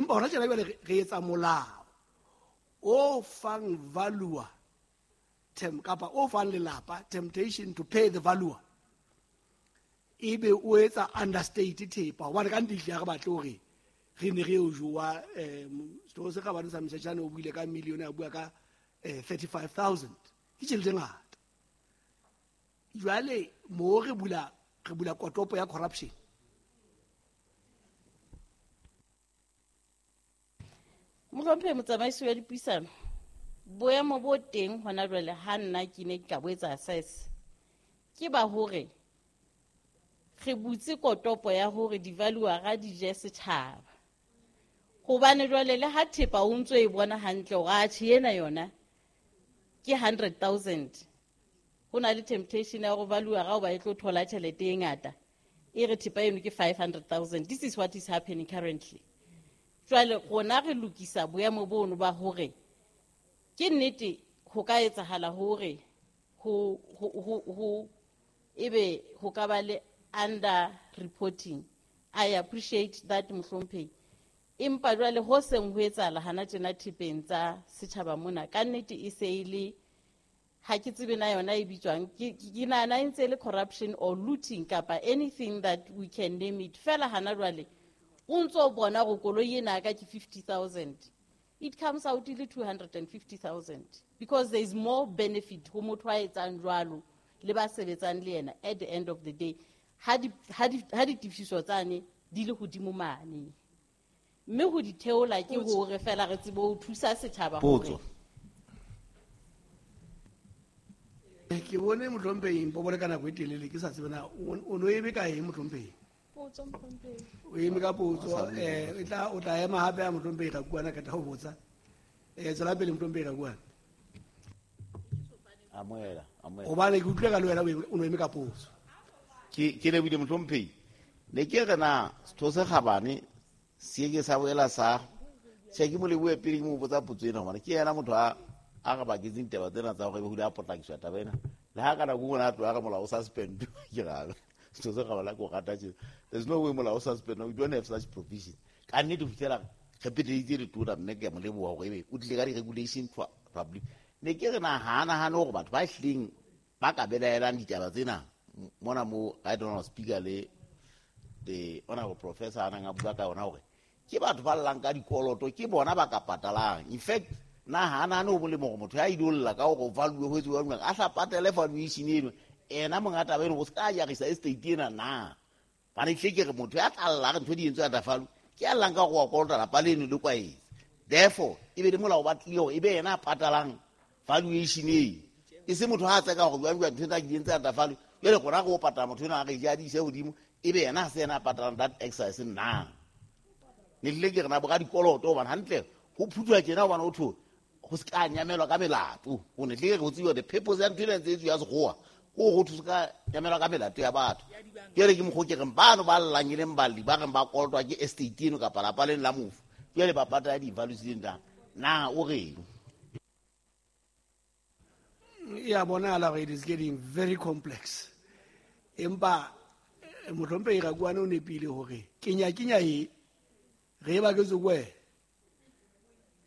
Empa hona tjena jwale re etsa molao o fang valuer kapa o fang lelapa temptation to pay the valuer, ebe o etsa understate thepa, hobane ka nnete ehlile ha re batle hore re ne re o jowa. Setho se kgabane sa Mshashane o buile ka million, a bua ka 35,000, ke tjhelete e ngata. Jwale mo re bula kotopo ya corruption. Mohlomphehi motsamaisi wa dipuisano, boemo bo teng hona jwale ha nna ke ne ke ka bo etsa assess, ke ba hore re butse kotopo ya hore di-valuera di je setjhaba. Hobane jwale le ha thepa o ntso e bona hantle hore atjhe ena yona ke 100,000, ho na le temptation ya hore valuera hoba e tlo thola tjhelete e ngata, e re thepa eno ke 500,000. This is what is happening currently. Jwale rona re lokisa boemo bono ba hore ke nnete ho ka etsahala hore ho ebe ho ka ba le under reporting. I appreciate that, mohlomphehi. Empa jwale ho seng ho etsahala hana tjena thepeng tsa setjhaba mona, ka nnete e se e le, ha ke tsebe na yona e bitswang, ke nahana e ntse e le corruption or looting kapa anything that we can name it. Fela hana jwale o ntso bona hore koloi ena ka ke 50,000, it comes out e le 250,000, because there is more benefit ho motho a etsang jwalo le ba sebetsang le yena at the end of the day, ha ditefiso tsane di le hodimo mane. Mme ho di theola ke hore fela re tsebe ho thusa setjhaba hore. Ke bone mohlomphehi Mpobole ka nako e telele, ke sa tsebe na o no eme ka eng mohlomphehi? Potso, mohlomphehi. O eme ka potso, o tla ema hape ha mohlomphehi Rakuana ka tla ho botsa. Tswela pele mohlomphehi Rakuana. Amohela, amohela. Hobane ke utlwile ka le wena o no eme ka potso. Ke lebile mohlomphehi. Ne ke re na setho se kgabane se ke sa boela sa tjhe, ke mo lebohe pele ke mo botsa potso ena, hobane ke yena motho a re baketseng taba tsena tsa hore ebe ho ile a potlakiswa taba ena. Le ha ka nako e nngwe a tloha a re molao o suspend, ke ra setho se kgabane ke o rata tje. There's no way molao o suspend, we don't have such provision. Ka nnete ho fihlela re peteditse letona, mme ke a mo leboha hore ebe o tlile ka di-regulation public. Ne ke re na ha nahane hore batho ba hlileng ba ka belaelang ditaba tsena mona mo right honorable speaker le the honorable professor a nang a bua ka yona hore ke batho ba llang ka dikoloto, ke bona ba ka patalang. In fact, na ha nahane ho molemo hore motho ya ilo lla ka hore o value ho etsuwa jwang, a hla patele valuation eno, ena monga taba eno, o se ka jarisa estate ena na. Bane hle ke re motho ya tla lla re ntho di entswe ya tafalo, ke ya llang ka hore wa kolota lapa leno le kwaetse. Therefore, e be le molao ba tlile hore e be yena a patalang valuation eo. E se motho ha a tseka hore jwang jwang ntho tsa di entse ya tafalo, jwale rona re o patala motho enwa a re ja di ise hodimo, e be yena ha se yena a patalang that exercise na. Ne tlile ke re na bo ka dikoloto, hobane hantle ho phuthwa tjena hobane ho thwe ho se ka nyamelwa ka melato. Ho ne tlile re ho tseba the purpose ya ntho ena ntse e tswa ya sekgowa, ke hore ho thwe se ka nyamelwa ka melato ya batho. Jwale ke mokgwa o ke reng bano ba llang e leng balli ba reng ba kolotwa ke estate eno kapa lapa leno la mofu, jwale ba patala di-values tseno na. Na o reng? Ya bonahala hore it is getting very complex. Empa mohlomphehi Rakuana o nepile hore kenya e re e baketswe ke wena,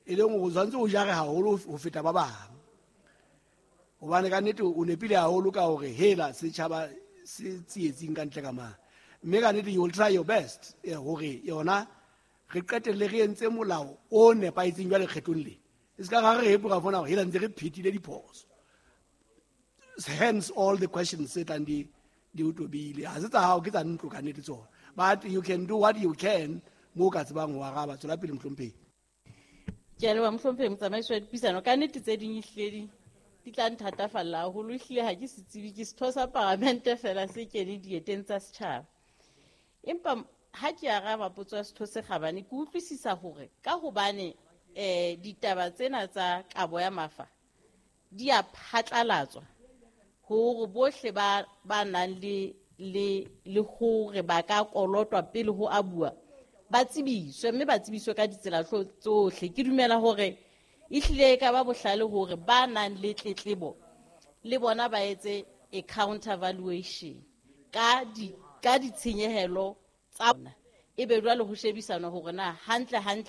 e leng hore o tshwanetse o jare haholo ho feta ba bang. Hobane ka nnete o nepile haholo ka hore hela setjhaba se tsietsing ka ntle ka mane. Mme ka nnete you will try your best hore yona re qetelle re entse molao o nepahetseng jwale kgetlong le. E se ka ra re hepo ra fona hore hela ntse re phethile diphoso. Hence all the questions tse tlang di o tobile. Ha se tsa hao, ke tsa ntlo ka nnete tsona. But you can do what you can mo ka tsebang ho araba. Tswela pele mohlomphehi. Ke a leboha mohlomphehi motsamaisi wa dipuisano. Ka nnete tse ding ehlile di tla nthatafalla haholo. Ehlile ha ke se tsebe, ke setho sa paramente fela se kene dieteng tsa setjhaba. Empa ha ke araba potso ya setho se kgabane, ke utlwisisa hore ka hobane ditaba tsena tsa kabo ya mafa di a phatlalatswa hore bohle ba nang le hore ba ka kolotwa pele ho abuwa, ba tsebiswe, mme ba tsebiswe ka ditsela tsohle. Ke dumela hore ehlile e ka ba bohlale hore ba nang le tletlebo le bona ba etse a counter valuation ka ditshenyehelo tsa bona, ebe jwale ho shebisanwa hore na hantle hantle